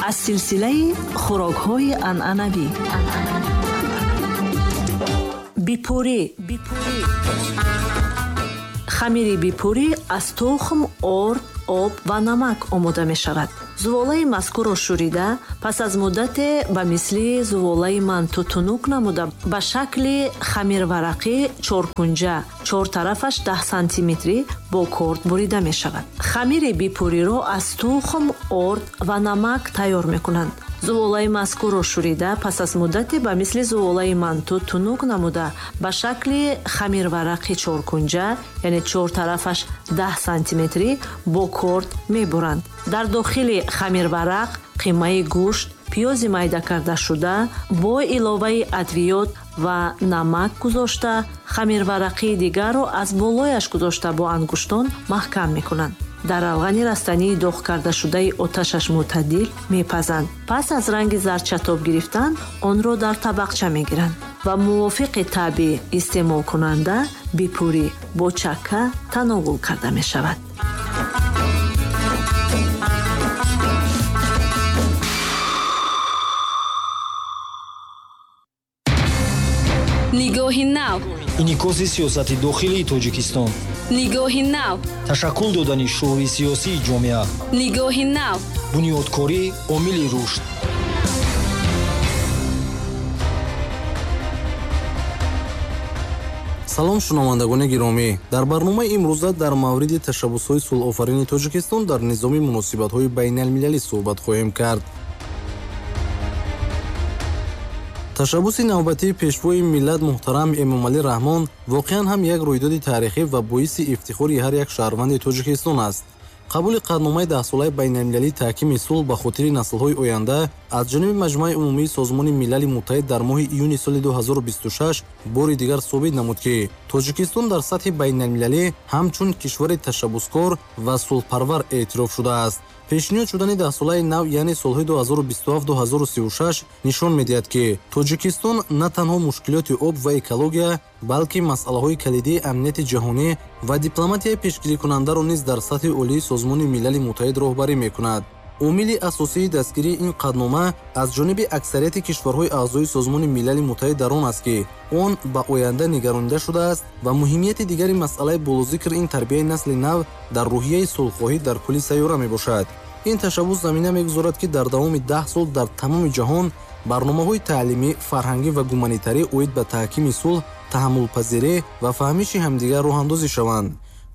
Аз силсилаи хӯрокҳои анъанавӣ. Бипурӣ. Хамири бипурӣ аз тухм, орд, об ва намак омода мешавад. Зуволаи мазкурро шӯрида, пас аз муддате ба мисли зуволаи манту тунук намуда, ба шакли хамирварақӣ чоркунҷа, чортарафаш 10 сантиметрӣ бо корд бурида мешавад. Хамири бипуриро аз тухм, орд ва намак тайёр мекунанд. Зуволаи мазкурро шӯрида, пас аз муддате ба мисли зуволаи манту тунук намуда, ба шакли хамирварақи чоркунҷа, яъне чортарафаш 10 сантиметрӣ бо корд мебуранд. Дар дохили хамирварақ қимаи гӯшт, пиёзи майда кардашуда бо иловаи адвиёт ва намак гузошта, хамирварақии дигарро аз болояш гузошта бо ангуштон маҳкам мекунанд. Дар равғани растании доғ кардашудаи оташаш мӯътадил мепазанд. Пас аз ранги зардчатоб гирифтан онро дар табақча мегиранд ва мувофиқи табъи истеъмолкунанда бипурӣ бо чакка тановул карда мешавад. Нигоҳи нав. Инъикоси сиёсати дохилии Тоҷикистон. Нигоҳи нав. Ташаккул додани шуури сиёсии ҷомеа. Нигоҳи нав. Бунёдкорӣ омили рушд. Салом, шунавандагони гиромӣ. Дар барномаи имрӯза дар мавриди ташаббусҳои сулҳофарини Тоҷикистон дар низоми муносибатҳои байналмилалӣ суҳбат хоҳем кард. Ташаббуси навбатии пешвои миллат муҳтарам Эмомалӣ Раҳмон воқеан ҳам як рӯйдоди таърихӣ ва боиси ифтихори ҳар як шаҳрванди Тоҷикистон аст. Қабули қатъномаи даҳсолаи байналмилалии таҳкими сулҳ ба хотири наслҳои оянда аз ҷониби Маҷмӯаи умумии Созмони Милали Муттаҳид дар моҳи июни соли 2026 бори дигар собит намуд, ки Тоҷикистон дар сатҳи байналмилалӣ ҳамчун кишвари ташаббускор ва сулҳпарвар эътироф шудааст. Пешниҳод шудани даҳсолаи нав, яъне солҳои 2027-2036 нишон медиҳад, ки Тоҷикистон на танҳо мушкилоти об ва экология, балки масъалаҳои калидии амнияти ҷаҳонӣ ва дипломатияи пешгирикунандаро низ дар сатҳи олии Созмони Милали Муттаҳид роҳбарӣ мекунад. Омили асосии дастгирии ин қатънома аз ҷониби аксарияти кишварҳои аъзои Созмони Милали Муттаҳид дар он аст, ки он ба оянда нигаронида шудааст ва муҳимияти дигари масъалаи болозикр ин тарбияи насли нав дар рӯҳияи сулҳхоҳӣ дар кулли сайёра мебошад. Ин ташаббус замина мегузорад, ки дар давоми 10 сол дар тамоми ҷаҳон барномаҳои таълимӣ, фарҳангӣ ва гуманитарӣ оид ба таҳкими сулҳ, таҳаммулпазирӣ ва фаҳмиши ҳамдигар роҳандозӣ шаванд.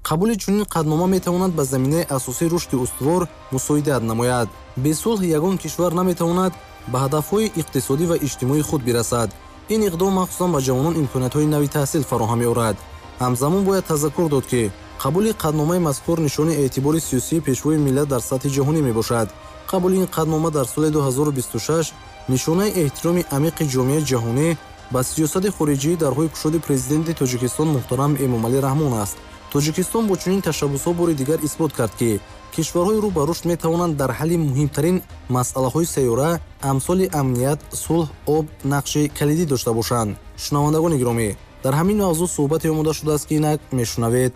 Қабули чунин қатънома метавонад ба заминаи асосии рушди устувор мусоидат намояд. Бе сулҳ ягон кишвар наметавонад ба ҳадафҳои иқтисодӣ ва иҷтимоии худ бирасад. Ин иқдом махсусан ба ҷавонон имкониятҳои нави таҳсил фароҳам меорад. Ҳамзамон бояд тазаккур дод, ки қабули қатъномаи мазкур нишони эътибори сиёсии пешвои миллат дар сатҳи ҷаҳонӣ мебошад. Қабули ин қатънома дар соли 2026 нишонаи эҳтироми амиқи ҷомеаи ҷаҳонӣ ба сиёсати хориҷии дарҳои кушоди президенти Тоҷикистон муҳтарам Эмомалӣ Раҳмон аст. Тоҷикистон бо чунин ташаббусҳо бори дигар исбот кард, ки кишварҳои рӯ ба рушд метавонанд дар ҳалли муҳимтарин масъалаҳои сайёра амсоли амният, сулҳ, об нақши калидӣ дошта бошанд. Шунавандагони гиромӣ, дар ҳамин мавзӯъ суҳбате омода шудааст, ки инак мешунавед.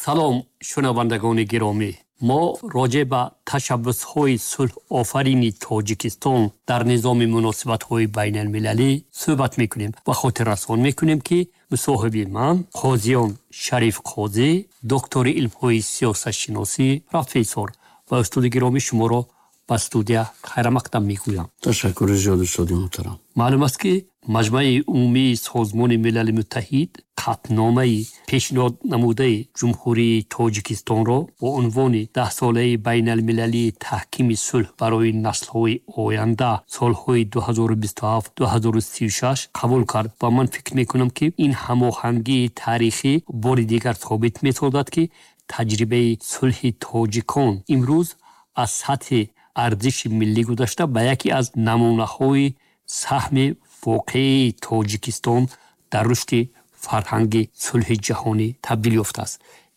Салом, шунавандагони гиромӣ. Мо роҷеъ ба ташаббусҳои сулҳофарини Тоҷикистон дар низоми муносибатҳои байналмилалӣ суҳбат мекунем ва хотиррасон мекунем, ки мусоҳиби ман Қозиён Шариф Қозӣ, доктори илмҳои сиёсатшиносӣ, профессор ва устоди гиромӣ, шуморо ба студия хайрамақдам мегӯям. Ташаккури зиёд, устоди муҳтарам. Маълум аст, ки Маҷмӯаи умумии Созмони Милали Муттаҳид қатъномаи пешниҳод намудаи Ҷумҳурии Тоҷикистонро бо унвони даҳсолаи байналмилалии таҳкими сулҳ барои наслҳои оянда солҳои 2027-2036 қабул кард ва ман фикр мекунам, ки ин ҳамоҳангии таърихӣ бори дигар собит месозад, ки таҷрибаи сулҳи тоҷикон имрӯз аз сатҳи арзиши миллӣ гузашта ба яке аз намунаҳои саҳми воқеии Тоҷикистон дар рушди фарҳанги сулҳи ҷаҳонӣ табдил ёфтааст.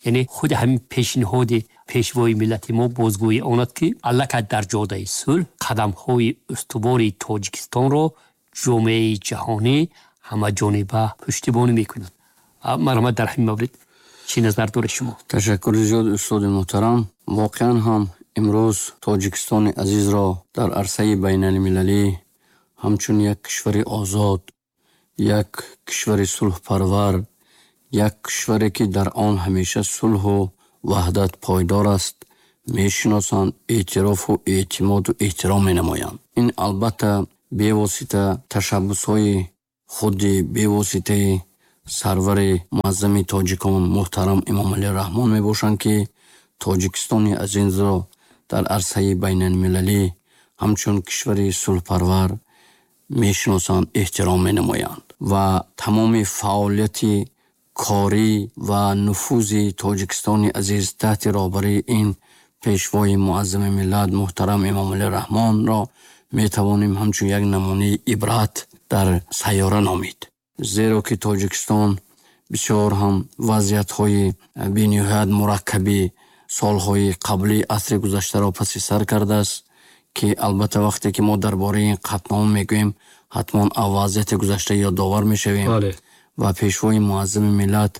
Яъне худи ҳамин пешниҳоди пешвои миллати мо бозгӯии он аст, ки аллакай дар ҷодаи сулҳ қадамҳои устувори Тоҷикистонро ҷомеаи ҷаҳонӣ ҳамаҷониба пуштибонӣ мекунад. Марҳамат, дар ҳамин маврид чӣ назар доред шумо? Ташаккури зиёд, устоди муҳтарам. Воқеан ҳам Имрӯз Тоҷикистони азизро дар арсаи байналмилалӣ ҳамчун як кишвари озод, як кишвари сулҳпарвар, як кишваре ки дар он ҳамеша сулҳу ваҳдат пойдор аст, мешиносанд, эътирофу эътимоду эҳтиром менамоянд. Ин албатта бевосита ташаббусҳои худи бевоситаи сарвари муаззами тоҷикон муҳтарам Эмомалӣ Раҳмон мебошанд, ки Тоҷикистони азизро дар арсаи байналмилалӣ ҳамчун кишвари сулҳпарвар мешиносанд, эҳтиром менамоянд ва тамоми фаъолияти корӣ ва нуфузи Тоҷикистони азиз таҳти роҳбарии ин пешвои муаззами миллат муҳтарам Эмомалӣ Раҳмонро метавонем ҳамчун як намунаи ибрат дар сайёра номид. Зеро ки Тоҷикистон бисёр ҳам вазъиятҳои бениҳоят мураккаби солҳои қабли асри гузаштаро паси сар кардааст, ки албатта вақте ки мо дар бораи ин қатънома мегӯем, ҳатман аз вазъияти гузашта ёдовар мешавем. Ва пешвои муаззами миллат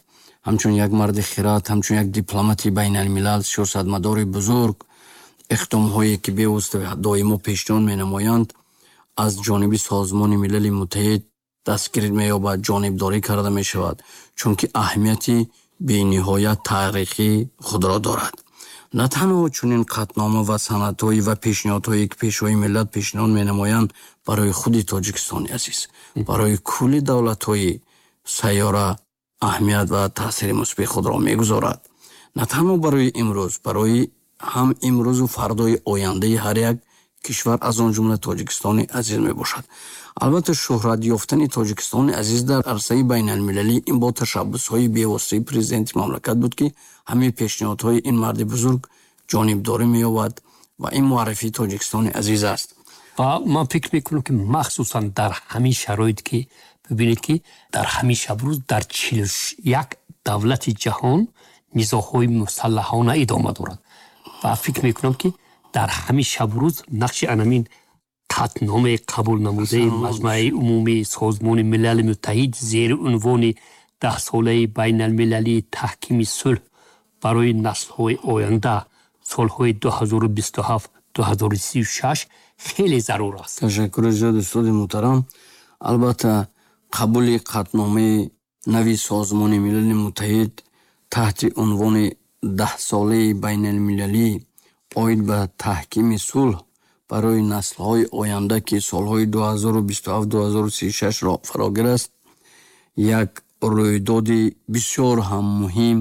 ҳамчун як марди хирад, ҳамчун як дипломати байналмилал, сиёсатмадори бузург, иқдомҳое ки бевосита доимо пешниҳод менамоянд, аз ҷониби Созмони Милали Муттаҳид дастгирӣ меёбад, ҷонибдорӣ карда мешавад, чунки аҳамияти бениҳоят таърихӣ худро дорад. На танҳо чунин қатънома ва санадҳое ва пешниҳодҳое ки пешвои миллат пешниҳод менамоянд барои худи Тоҷикистони азиз, барои кулли давлатҳои сайёра аҳамият ва таъсири мусбии худро мегузорад. На танҳо барои имрӯз, барои ҳам имрӯзу фардои ояндаи ҳар як кишвар, аз он ҷумла Тоҷикистони азиз мебошад. Албатта шӯҳрат ёфтани Тоҷикистони азиз дар арсаи байналмилалӣ ин бо ташаббусҳои бевоситаи президенти мамлакат буд, ки ҳамаи пешниҳодҳои ин марди бузург ҷонибдорӣ меёбад ва ин муаррифии Тоҷикистони азиз аст. Ва ман фикр мекунам, ки махсусан дар ҳамин шароит, ки бибинед, ки дар ҳамин шабрӯз дар 41 давлати ҷаҳон низоъҳои мусаллаҳона идома дорад. Ва фикр мекунам, ки дар ҳамин шабрӯз нақши анамин қатъномаи қабул намудаи Маҷмаи Умумии Созмони Милали Муттаҳид зери унвони даҳсолаи байналмилалии таҳкими сулҳ барои наслҳои оянда солҳои 2027-2036 хеле зарур аст. Ташаккури зиёд, устоди муҳтарам. Албатта қабули қатъномаи нави Созмони Милали Муттаҳид таҳти унвони даҳсолаи байналмилалӣ оид ба таҳкими сулҳ барои наслҳои оянда, ки солҳои 2027-2036-ро фарогир аст, як рӯйдоди бисёр ҳам муҳим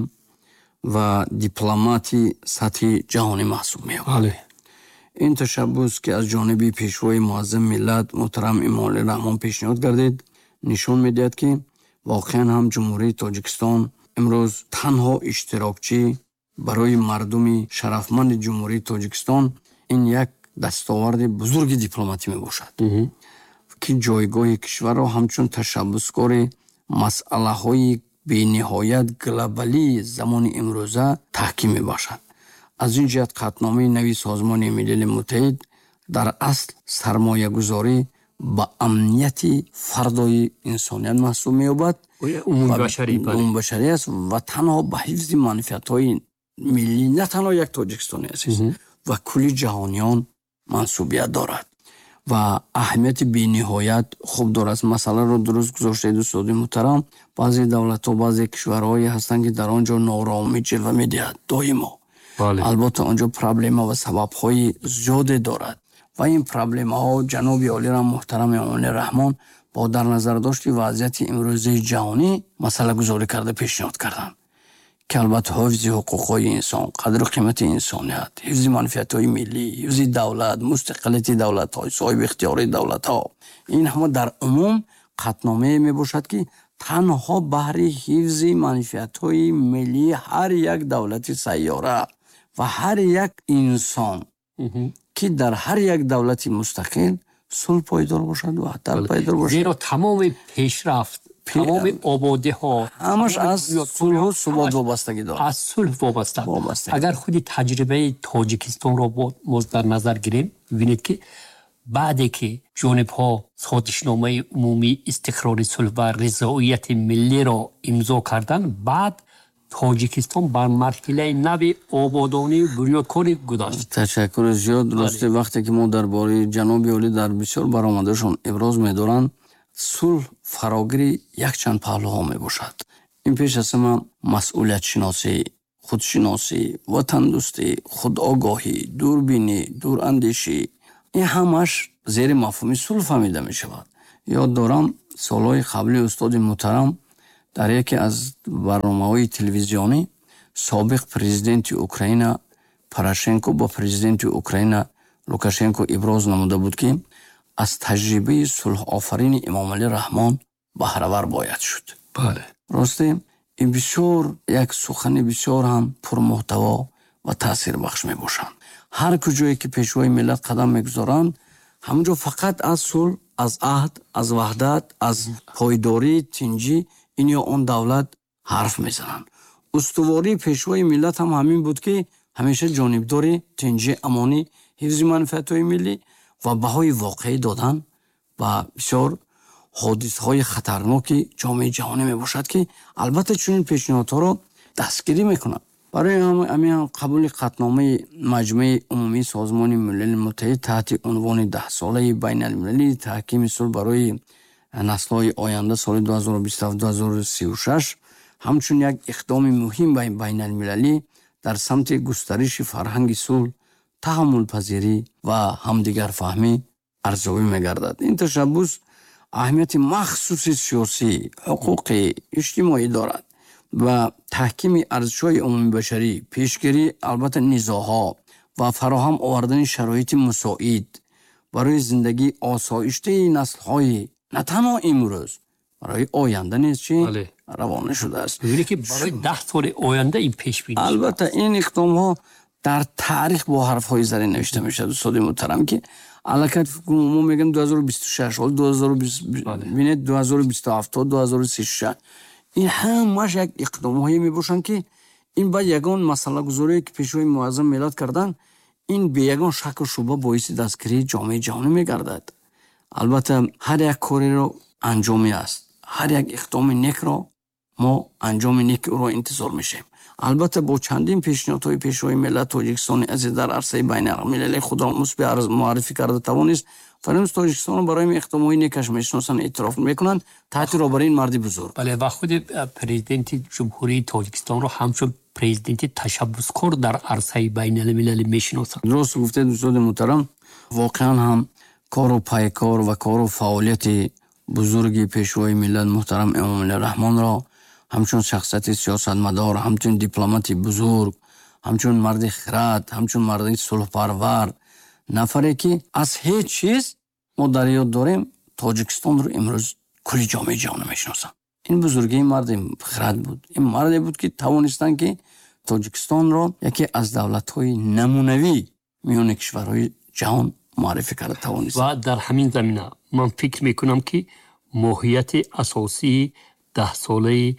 ва дипломати сатҳи ҷаҳонӣ маҳсуб меёбад. Ин ташаббус, ки аз ҷониби пешвои муаззами миллат муҳтарам Эмомалӣ Раҳмон пешниҳод гардид, нишон медиҳад, ки воқеан ҳам Ҷумҳурии Тоҷикистон имрӯз танҳо иштирокчӣ барои мардуми шарафманди Ҷумҳурии Тоҷикистон ин як дастоварди бузурги дипломатӣ мебошад, ки ҷойгоҳи кишварро ҳамчун ташаббускори масъалаҳои бениҳоят глобалии замони имрӯза таҳким мебахшад. Аз ин ҷиҳат қатъномаи нави Созмони Милали Муттаҳид дар асл сармоягузорӣ ба амнияти фардои инсоният маҳсуб меёбад. Умумбашарӣ аст ва танҳо ба ҳифзи манфиатҳои миллӣ на танҳо як Тоҷикистони азиз ва кулли ҷаҳониён мансубият дорад ва аҳамияти бениҳоят хуб дорад. Масъаларо дуруст гузоштаед, устоди муҳтарам. Баъзе давлатҳо, баъзе кишварҳое ҳастанд, ки дар он ҷо нооромӣ ҷилва медиҳад доимо. Албатта он ҷо проблема ва сабабҳои зиёде дорад ва ин проблемаҳо ҷаноби олиро муҳтарам Эмомалӣ Раҳмон бо дар назардошти вазъияти имрӯзаи ҷаҳонӣ масъалагузорӣ карда пешниҳод карданд, ки албатта ҳифзи ҳуқуқҳои инсон, қадру қимати инсоният, ҳифзи манфиатҳои миллӣ, ҳифзи давлат, мустақилияти давлатҳо, соҳиби ихтиёри давлатҳо, ин ҳама дар умум қатъномае мебошад, ки танҳо баҳри ҳифзи манфиатҳои миллии ҳар як давлати сайёра ва ҳар як инсон, ки дар ҳар як давлати мустақил сулҳ пойдор бошад ва ваҳдат пойдор бошад. Зеро тамоми пешрафт, тамоми ободиҳо ҳамаш аз сулҳу субот вобастагӣ дорад. Аз сулҳ вобаста. Агар худи таҷрибаи Тоҷикистонро боз дар назар гирем, бибинед, ки баъде ки ҷонибҳо созишномаи умумии истиқрори сулҳ ва ризоияти миллиро имзо карданд, баъд Тоҷикистон бар марҳилаи нави ободонию бунёдкорӣ гузашт. Ташаккури зиёд. Рости, вақте ки мо дар бораи ҷаноби олӣ дар бисёр баромадашон иброз медоранд, сулҳ фарогири якчанд паҳлӯҳо мебошад. Ин пеш аз ҳама масъулиятшиносӣ, худшиносӣ, ватандӯстӣ, худогоҳӣ, дурбинӣ, дурандешӣ, ин ҳамааш зери мафҳуми сулҳ фаҳмида мешавад. Ёд дорам, солҳои қабли устоди муҳтарам дар яке аз барномаҳои телевизионӣ собиқ президенти Украина Порошенко ба президенти Украина Лукашенко иброз намуда буд, ки аз таҷрибаи сулҳофарини Эмомалӣ Раҳмон баҳравар бояд шуд. Росте, ин бисёр як сухани бисёр ҳам пурмуҳтаво ва таъсирбахш мебошанд. Ҳар куҷое ки пешвои миллат қадам мегузоранд, ҳамонҷо фақат аз сулҳ, аз аҳд, аз ваҳдат, аз пойдории тинҷӣ ин ё он давлат ҳарф мезананд. Устувории пешвои миллат ҳам ҳамин буд, ки ҳамеша ҷонибдори тинҷӣ, амонӣ, ҳифзи манфиатҳои миллӣ ва баҳои воқеӣ додан ба бисёр ҳодисаҳои хатарноки ҷомеаи ҷаҳонӣ мебошад, ки албатта чунин пешниҳодҳоро дастгирӣ мекунад. Барои ҳамин ҳам қабули қатъномаи Маҷмӯи Умумии Созмони Милали Муттаҳид таҳти унвони Даҳсолаи байналмилалии таҳкими сулҳ барои наслҳои оянда соли 2027-2036 ҳамчун як иқдоми муҳим байналмилалӣ дар самти густариши фарҳанги сулҳ, таҳаммулпазирӣ ва ҳамдигарфаҳмӣ арзёбӣ мегардад. Ин ташаббус аҳамияти махсуси сиёсӣ, ҳуқуқӣ, иҷтимоӣ дорад ва таҳкими арзишҳои умумибашарӣ, пешгирӣ албатта низоъҳо ва фароҳам овардани шароити мусоид барои зиндагии осоиштаи наслҳои на танҳо имрӯз, барои оянда низ чӣ равона шудааст. Бибинед, ки барои 10 соли оянда ин пешбинӣ. Албатта, ин иқдомҳо дар таърих бо ҳарфҳои зарин навишта мешавад, устоди муҳтарам, ки аллакай мо мегӯем 2026, ҳол 2020, бинед, 2027 то 2036, ин ҳамааш як иқдомҳое мебошанд, ки ин баъд ягон масъалагузорие ки пешвои муаззами миллат карданд, ин бе ягон шаку шубҳа боиси дастгирии ҷомеаи ҷаҳонӣ мегардад. Албатта, ҳар як кореро анҷомӣ аст, ҳар як иқдоми некро мо анҷоми неки ӯро интизор мешавем. Албатта, бо чандин пешниҳодҳои пешвои миллат Тоҷикистони азиз дар арсаи байналмилалӣ худро мусбӣ муаррифӣ карда тавонист ва имрӯз Тоҷикистонро барои иқдомҳои некаш мешиносанд, эътироф мекунанд таҳти роҳбарии ин марди бузург. Бале, ва худи президенти Ҷумҳурии Тоҷикистонро ҳамчун президенти ташаббускор дар арсаи байналмилалӣ мешиносанд. Дуруст гуфтед, устоди муҳтарам. Воқеан ҳам кору пайкор ва кору фаъолияти бузурги пешвои миллат муҳтарам Эмомалӣ Раҳмонро ҳамчун шахсияти сиёсатмадор, ҳамчун дипломати бузург, ҳамчун марди хирад, ҳамчун марди сулҳпарвар, нафаре ки аз ҳеҷ чиз мо дар ёд дорем, Тоҷикистонро имрӯз кулли ҷомеаи ҷаҳонӣ мешиносанд. Ин бузургии марди хирад буд. Ин марде буд, ки тавонистанд, ки Тоҷикистонро яке аз давлатҳои намунавӣ миёни кишварҳои ҷаҳон муаррифӣ карда тавонист. Ва дар ҳамин замина ман фикр мекунам, ки моҳияти асосии даҳсолаи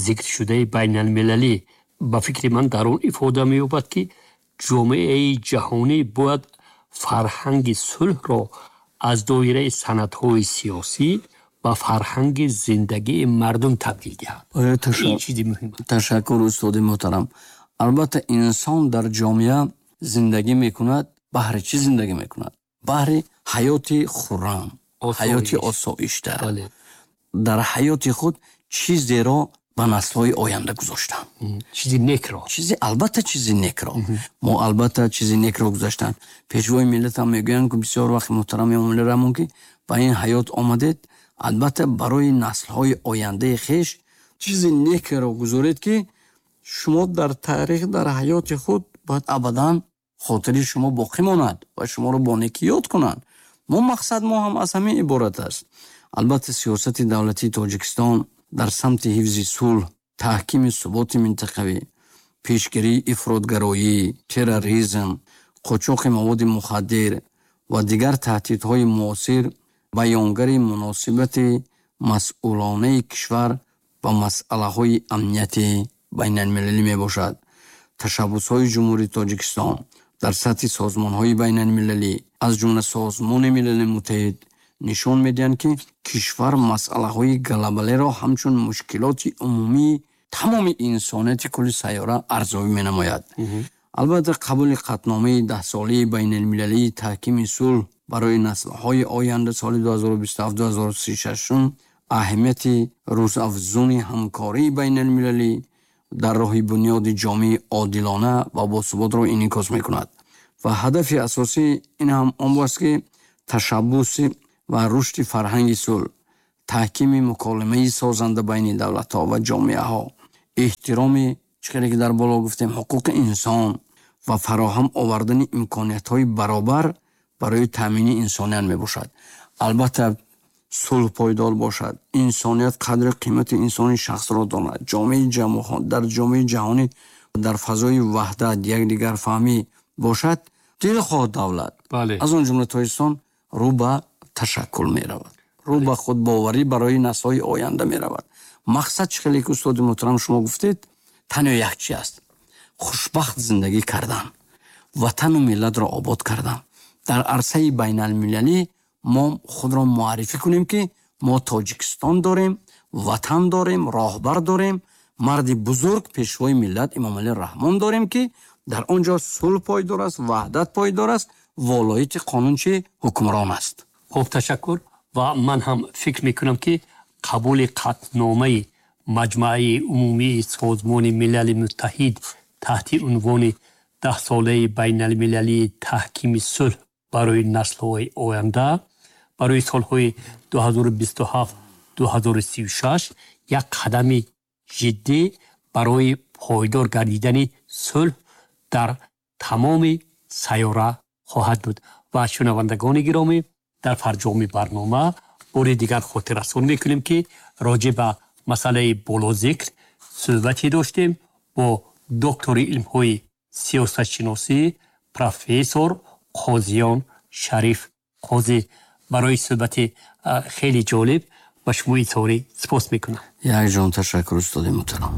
зикршудаи байналмилалӣ, ба фикри ман, дар он ифода меёбад, ки ҷомеаи ҷаҳонӣ бояд фарҳанги сулҳро аз доираи санадҳои сиёсӣ ба фарҳанги зиндагии мардум табдил диҳад. Ин чизи муҳим аст. Ташаккур, устоди муҳтарам. Албатта, инсон дар ҷомеа зиндагӣ мекунад. Баҳри чӣ зиндагӣ мекунад? Баҳри ҳаёти хуррам, ҳаёти осоишта, дар ҳаёти худ чизеро ба наслҳои оянда гузоштан. Чизи некро. Чизи, албатта, чизи некро. Мо, албатта, чизи некро гузоштан. Пешвои миллатам мегӯянд, ки бисёр вақт муҳтарам Эмомалӣ Раҳмон, ки ба ин ҳаёт омадед, албатта, барои наслҳои ояндаи хеш чизи некеро гузоред, ки шумо дар таърих, дар ҳаёти худ бояд абадан хотири шумо боқӣ монад ва шуморо бо некӣ ёд кунанд. Мо мақсад мо ҳам аз ҳамин иборат аст. Албатта, сиёсати давлатии Тоҷикистон дар самти ҳифзи сулҳ, таҳкими суботи минтақавӣ, пешгирии ифротгароӣ, терроризм, қочоқи маводи мухаддир ва дигар таҳдидҳои муосир баёнгари муносибати масъулонаи кишвар ба масъалаҳои амнияти байналмилалӣ мебошад. Ташаббусҳои Ҷумҳурии Тоҷикистон дар сатҳи созмонҳои байналмилалӣ, аз ҷумла Созмони Милали Муттаҳид, нишон медиҳанд, ки кишвар масъалаҳои глобалиро ҳамчун мушкилоти умумии Тамоми инсонияти кулли сайёра арзёбӣ менамояд. Албатта, қабули қатъномаи даҳсолаи байналмилалии таҳкими сулҳ барои наслҳои оянда соли 2027-2036 аҳамияти рӯзафзуни ҳамкории байналмилалӣ дар роҳи бунёди ҷомеаи одилона ва босуботро инъикос мекунад. Ва ҳадафи асосӣ ин ҳам он аст, ки ташаббуси ва рушди фарҳанги сулҳ, таҳкими муколимаи созанда байни давлатҳо ва ҷомеаҳо, эҳтироми, чӣ хеле ки дар боло гуфтем, ҳуқуқи инсон ва фароҳам овардани имкониятҳои баробар барои таъмини инсоният мебошад. Албатта, сулҳ пойдор бошад, инсоният қадру қимати инсони шахсро донад, дар ҷомеаи ҷаҳонӣ дар фазои ваҳдат, якдигарфаҳмӣ бошад, дилхоҳ давлат, аз он ҷумла Тоҷикистон, рӯ ба ташаккул меравад, рӯ ба худбоварӣ барои наслҳои оянда меравад. Мақсад, чӣ хеле ки устоди муҳтарам шумо гуфтед, танҳо як чи аст: хушбахт зиндагӣ кардан, ватану миллатро обод кардан. Дар арсаи байналмилалӣ мо худро муаррифӣ кунем, ки мо Тоҷикистон дорем, ватан дорем, роҳбар дорем, марди бузург, пешвои миллат Эмомалӣ Раҳмон дорем, ки дар он ҷо сулҳ пойдор аст, ваҳдат пойдор аст, волояти қонун чи ҳукмрон аст. Хуб, ташаккур. Ва ман ҳам фикр мекунам, ки қабули қатъномаи Маҷмааи Умумии Созмони Милали Муттаҳид таҳти унвони даҳсолаи байналмилалии таҳкими сулҳ барои наслҳои оянда барои солҳои 2027-2036 як қадами ҷиддӣ барои пойдор гардидани сулҳ дар тамоми сайёра хоҳад буд. Ва шунавандагони гиромӣ, дар фарҷоми барнома бори дигар хотиррасон мекунем, ки роҷеъ ба масъалаи болозикр суҳбате доштем бо доктори илмҳои сиёсатшиносӣ, профессор Қозиён Шариф Қозӣ. Барои суҳбати хеле ҷолиб ба шумо изҳори сипос мекунам. Якҷон ташаккур, устоди муҳтарам.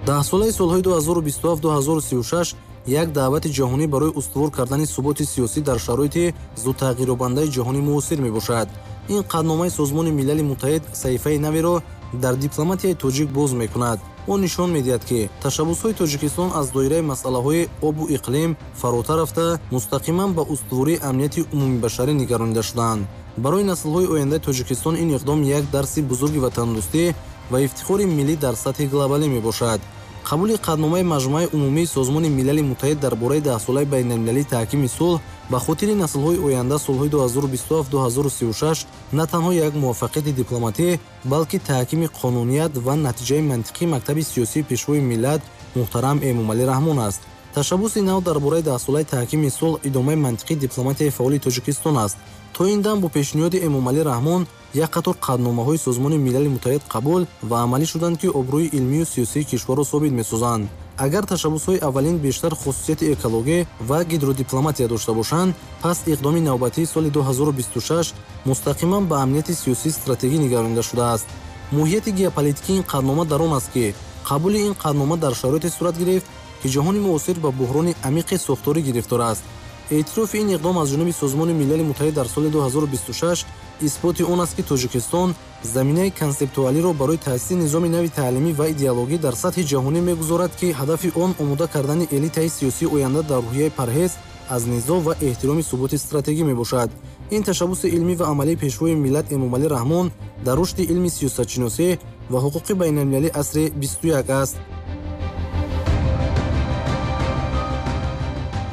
Даҳсолаи солҳои 2027-2036 як даъвати ҷаҳонӣ барои устувор кардани суботи сиёсӣ дар шароити зудтағйирёбандаи ҷаҳони муосир мебошад. Ин қатъномаи Созмони Милали Муттаҳид саҳифаи наверо дар дипломатияи тоҷик боз мекунад. Он нишон медиҳад, ки ташаббусҳои Тоҷикистон аз доираи масъалаҳои обу иқлим фаротар рафта, мустақиман ба устувории амнияти умумибашарӣ нигаронида шудаанд. Барои наслҳои ояндаи Тоҷикистон ин иқдом як дарси бузурги ватандӯстӣ ва ифтихори миллӣ дар сатҳи глобалӣ мебошад. Қабули қатъномаи Маҷмӯаи Умумии Созмони Милали Муттаҳид дар бораи даҳсолаи байналмилалии таҳкими сулҳ ба хотири наслҳои оянда солҳои 2027-2036 на танҳо як муваффақияти дипломатӣ, балки таҳкими қонуният ва натиҷаи мантиқии мактаби сиёсии пешвои миллат муҳтарам Эмомалӣ Раҳмон аст. Ташаббуси нав дар бораи даҳсолаи таҳкими сулҳ идомаи мантиқии дипломатияи фаъоли Тоҷикистон аст. То ин дам бо пешниҳоди Эмомалӣ Раҳмон як қатор қатъномаҳои Созмони Милали Муттаҳид қабул ва амалӣ шуданд, ки обрӯи илмию сиёсии кишварро собит месозанд. Агар ташаббусҳои аввалин бештар хусусияти экологӣ ва гидродипломатия дошта бошанд, пас иқдоми навбатии соли 2026 мустақиман ба амнияти сиёсии стратегӣ нигаронида шудааст. Моҳияти геополитикии ин қатънома дар он аст, ки қабули ин қатънома дар шароите сурат гирифт, ки ҷаҳони муосир ба буҳрони амиқи сохторӣ гирифтор аст. Эътирофи ин иқдом аз ҷониби Созмони Милали Муттаҳид дар соли 2026 исботи он аст, ки Тоҷикистон заминаи консептуалиро барои таъсиси низоми нави таълимӣ ва идеологӣ дар сатҳи ҷаҳонӣ мегузорад, ки ҳадафи он омода кардани элитаи сиёсии оянда дар рӯҳияи парҳез аз низоъ ва эҳтироми суботи стратегӣ мебошад. Ин ташаббуси илмӣ ва амалии пешвои миллат Эмомалӣ Раҳмон дар рушди илми сиёсатшиносӣ ва ҳуқуқи байналмилалии асри 21 аст.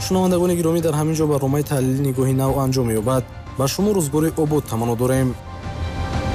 Шунавандагони гиромӣ, дар ҳамин ҷо барномаи таҳлили Нигоҳи нав анҷом меёбад. Ба шумо рӯзгори обод таманно дорем.